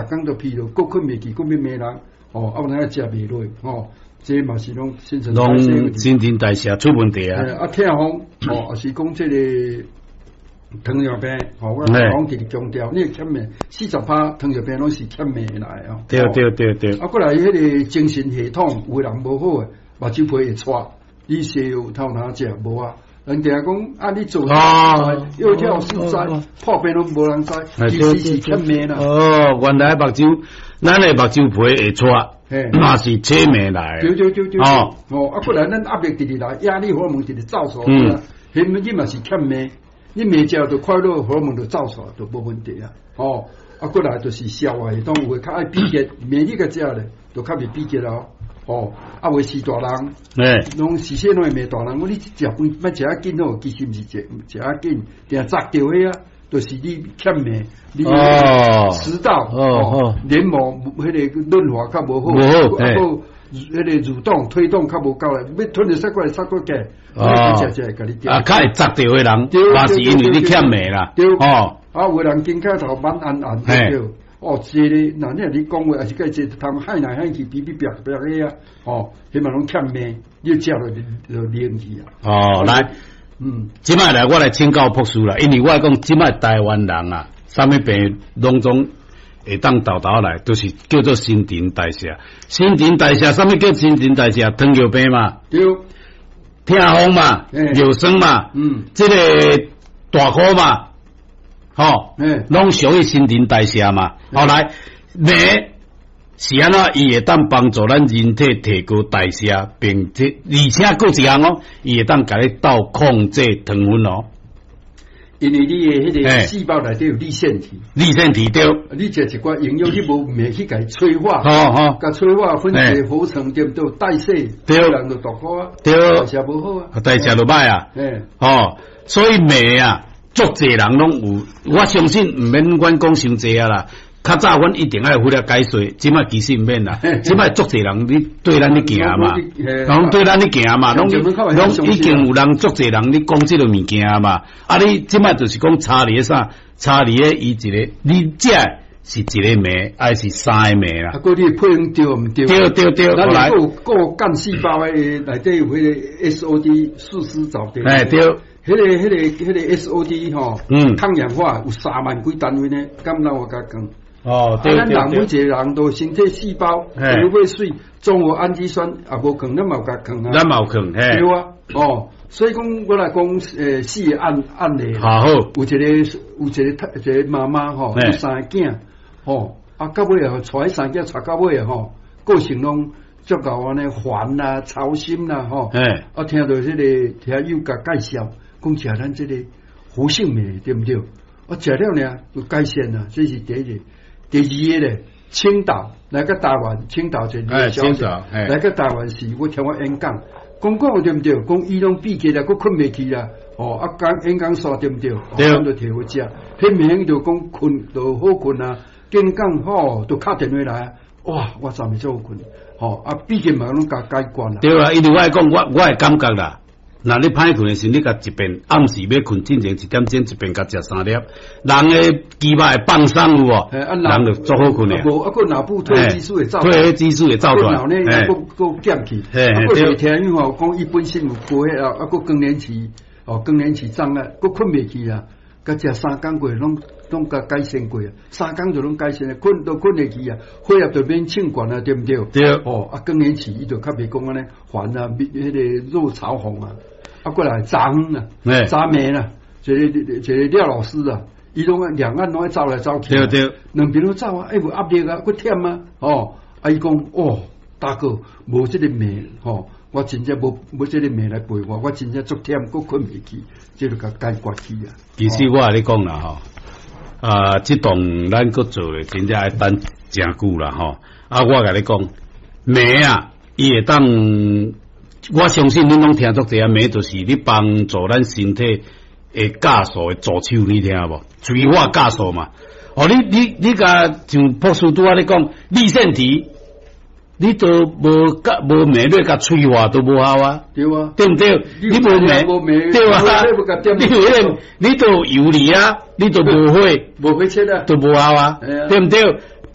逐工都疲勞，閣睏袂去，閣欲罵人，哦，啊有影食袂落，吼，這嘛是攏新陳代謝。新陳代謝出問題啊！啊，痛風，哦，也是講這个糖尿病，吼，我講直直強調，你欠鎂，40%糖尿病攏是欠鎂來哦。對對對對。啊，過來彼个精神系統，有的人無好的，目睭皮會掣，你西藥頭哪食無啊？人定講啊，你做藥跳四災，破病攏無人知，其實是欠鎂啦。哦，原來目睭，咱的目睭皮會掣，嘛是切鎂來。對對對對。哦哦，啊，過來咱壓力直直來，壓力荷爾蒙直直走出來，彼你嘛是欠鎂，你鎂食就快樂荷爾蒙就走出來，就無問題啊。哦，啊，過來就是消化系統有的較愛秘結，鎂你共食咧，就較袂秘結咯。哦，啊，有是大人，攏是細攏會罵大人。講你食飯欲食較緊好，其實毋是食食較緊，定扎著彼啊，就是你欠鎂，你食道哦，黏膜彼个潤滑較無好，啊，閣彼个蠕動推動較無夠力，欲吞著塞過來塞過去，食食會共你啊，較會扎著的人，嘛是因為你欠鎂啦。對，哦，啊，有的人肩胛頭慢按按對。哦，這个，若你你講話，抑是共坐通害來害去，比比煏煏的啊，哦，彼嘛攏欠鎂，你食落就冷去啊。哦，來，這擺來我來請教博士啦，因為我講這擺台灣人啊，啥物病攏總會當沓沓來，都是叫做新陳代謝。新陳代謝，啥物叫新陳代謝？糖尿病嘛，對，痛風嘛，尿酸嘛，這個大箍嘛。吼，攏屬於新陳代謝嘛。後來鎂是按怎？伊會當幫助咱人體提高代謝，並且而且閣一項哦，伊會當共你鬥控制糖分哦。因為你的彼个細胞內底有粒線體，粒線體對。你食一寡營養，你無鎂去共伊催化，共催化分解合成對毋對？代謝，對，人就大箍啊，對，代謝無好啊，代謝就歹啊，哦，所以鎂啊。足濟人攏有，我相信毋免阮講傷濟啊啦。較早阮一定愛付了解說，這擺其實毋免啦。這擺足濟人你對咱咧行嘛，攏對咱咧行嘛，攏攏已經有人足濟人咧講這个物件嘛。啊，你這擺就是講差佇咧啥？差佇咧伊一个，你食是一个鎂，還是三个鎂啦？啊，閣你配方對毋對？對對對，來。咱有個幹細胞的內底有彼个 SOD 四絲藻對。哎對。彼个 SOD 吼，抗氧化有3萬幾單位呢，敢若有共講？哦，對對對。咱人每一個人都身體細胞有尾水綜合氨基酸也無囥，咱嘛有共囥啊。咱嘛有囥，嘿。對啊，哦，所以講我來講，四個案例。好。有一個有一個一個媽媽吼，有三个囝，吼，啊，到尾啊，帶彼三个囝帶到尾啊，吼，個性攏足夠按呢煩啦、操心啦，吼。啊，聽著這个聽友共介紹。講食咱這个活性鎂對毋對？我食了呢就改善啦，這是第一個。第二个咧，青島來個台灣，青島一個小姐來個台灣時，我聽我演講，講講對毋對？講伊攏閉結啦，閣睏袂去啦。哦，啊講演講煞對毋對？對，就提回食，彼暝就講睏就好睏啊，堅講吼就敲電話來，哇，我昨暝足好睏，吼啊閉結嘛攏共解決啦。對啊，因為我講我我的感覺啦。若你歹睏的時，你共一遍暗時欲睏進前一點鐘，一遍共食三粒，人的肌肉會放鬆有無？人就足好睏的。無啊，閣腦部褪黑激素會走，褪黑激素會走出來，腦內閣閣減去。啊，閣聽伊吼講，伊本身有高血壓，啊，閣更年期，哦，更年期障礙，閣睏袂去啊。共食三工過，攏攏共改善過啊，三工就攏改善啊，睏都睏會去啊，血壓就免衝懸啊，對毋對？對。哦，啊，更年期伊就較袂講按呢煩啊，彼个熱嘲諷啊。啊，過來查遠啊，查暝啦，一个一个廖老師啊，伊攏兩岸攏愛走來走去，對對，兩邊攏走啊，欸有壓力啊，閣忝啊，哦，啊伊講哦，大哥，無這个鎂吼，我真正無無這个鎂來陪我，我真正足忝，閣睏袂去，這就共解決去啊。其實我共你講啦吼，啊，這棟咱閣做咧，真正愛等誠久啦吼。啊，我共你講，鎂啊，伊會當。我相信恁攏聽足濟啊，鎂就是咧幫助咱身體的酵素的助手，你聽無？催化酵素嘛。哦，你你你共像博士拄仔咧講，粒線體，你都無共無鎂咧共催化都無效啊。對啊，對毋對？你無鎂，對啊，你有彼個，你都油膩啊，你都無火，無火車啊，都無效啊，對毋對？